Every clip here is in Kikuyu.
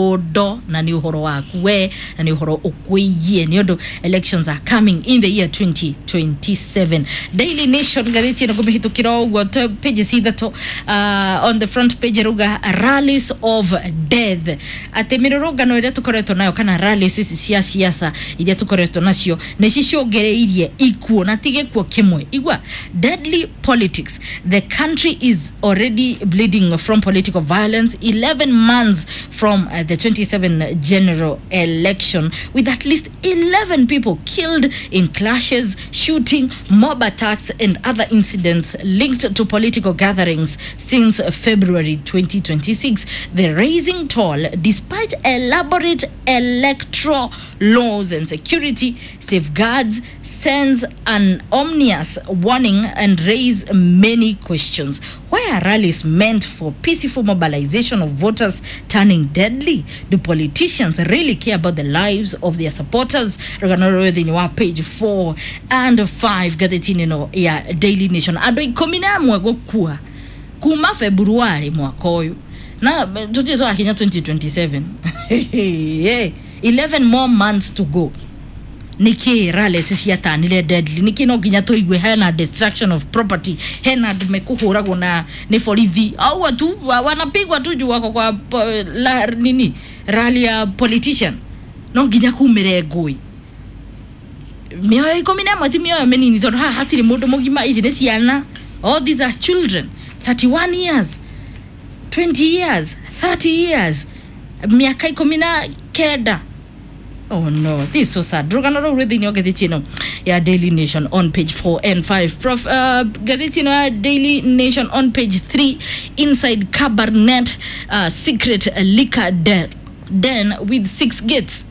Ndo na nä å horo waku we na nä å horo å kwä nä å elections are coming in the year 2027. Daily Nation ngathĩti ĩno ngũmĩhĩtũkĩra o ũguo pages ithatũ. On the front page ĩrauga "Rallies of Death", atĩ mĩrũrũngano ĩrĩa tũkoretwo nayo kana rallies ici cia ciaca iria tũkoretwo nacio nĩ cicũngĩrĩirie ikuũ na ti gĩkuũ kĩmwe. Igua, "Deadly politics. The country is already bleeding from political violence 11 months from the 27 general election, with at least 11 people killed in clashes, shooting, mob attacks and other incidents linked to political gatherings since February 2026. The rising toll, despite elaborate electoral laws and security safeguards, sends an ominous warning and raise many questions. Why are rallies meant for peaceful mobilization of voters turning deadly? Do politicians really care about the lives of their supporters?" Rũgano rũrũ thĩinĩ wa page 4 and 5 ngathĩti-inĩ ĩno ya Daily Nation. Andũ 11 gũkua kuma February mwaka ũyũ na tũtirĩ twakinya 2027, 11 more months to go. Nĩkĩ rallies ciatanire deadly? Nĩkĩ no nginya tũigue hena destruction of property, hena andũ mekũhũragwo na nĩ borithi auo tu wanapigwa tu juu wako kwa la, nini, rally ya politician? No nginya kumĩre ngũĩ? Mĩoyo 11 ti mĩoyo mĩnini tondũ haha hatirĩ mũndũ mũgima, ici nĩ ciana. All these are children, 31 years, 20 years, 30 years, mĩaka 19. Oh no, this is so sad. Rũgano rũu rwĩ thĩinĩ wa ngathĩti ĩno ya Daily Nation on page 4 and 5. Prof, ngathĩti ĩno ya Daily Nation on page 3, "Inside Kabarnet secret liquor den with six gates."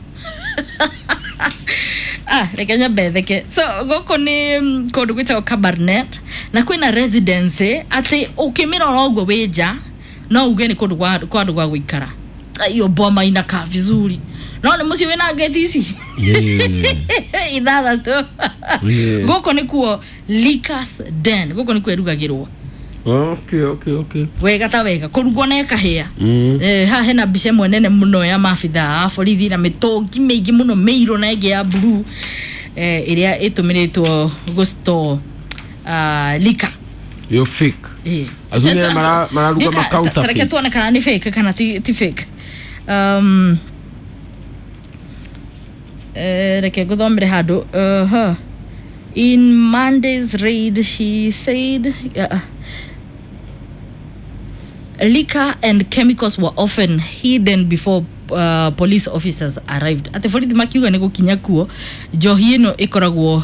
Ah, reke nyambe theke. So gũkũ nĩ kũndũ gwĩtagwo Kabarnet na kwĩna residence atĩ ũkĩmĩrora ũguo wĩ nja no uge nĩ kũndũ kwa andũ gwa gũikara, hiyo boma inakaa vizuri, no nĩ mũciĩ wĩna ngeti ici ithathatũ. Gũkũ nĩkuo liquors den, gũkũ nĩkuo ĩrugagĩrwo. Wega ta wega kũrugwo na ĩkahĩa. Haha hena mbica ĩmwe nene mũno ya maabithaa a borithi na mĩtũngi mĩingĩ mũno mĩirũ na ĩngĩ ya blue, ĩrĩa ĩtũmĩrĩtwo gũstore liquor. Yo fake. Acio nĩ mararuga ma counterfeit. Tareke tuone kana nĩ fake kana ti fake. Reke ngũthomere handũ. In Monday's raid, she said, liquor and chemicals were often hidden before police officers arrived. Atĩ borithi makiuga nĩ gũkinya kuo njohi ĩno ĩkoragwo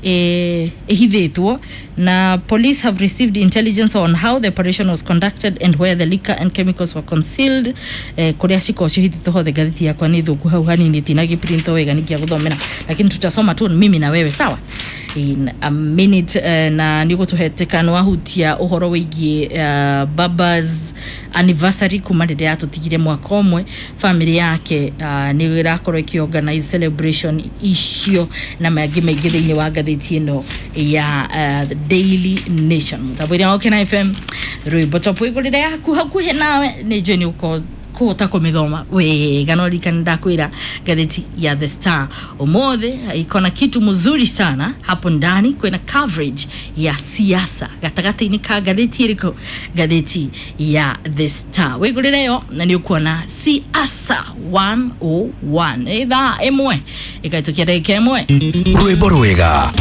ĩhithĩtwo. Na police have received intelligence on how the operation was conducted and where the liquor and chemicals were concealed, kũrĩa cikoragwo cihithĩtwo hothe. Ngathĩti yakwa nĩ thũku hau hanini, tinagĩprinto wega nĩkĩa gũthomera, lakini tutasoma tu mimi na wewe, sawa, in a minute. Na nĩ ũgũtũhetĩka nĩ wahutia ũhoro wĩgiĩ baba's anniversary kuma rĩrĩa yatũtigire mwaka ũmwe. Family yake nĩ ĩrakorwo ĩkĩorganize celebration icio na mangĩ maingĩ thĩinĩ wa ngathĩti ĩno ya Daily Nation. Mũtambo-inĩ wa Ũkena FM, rwĩmbo top wĩgũrĩre yaku hakuhĩ nawe. Nĩ njũĩ nĩ ũkorwo kũhota kũmĩthoma wega, no ririkana ndakwĩra ngathĩti ya The Star ũmũthĩ iko na kitu mzuri sana hapo ndani. Kwĩna coverage ya siasa gatagatĩ-inĩ ka ngathĩti ĩrĩkũ? Ngathĩti ya The Star, wĩgũrĩre yo na nĩ ũkuona siasa 101. Ithaa 1 ĩkaĩtũkia ndagĩka 1. Rwĩmbo rwega.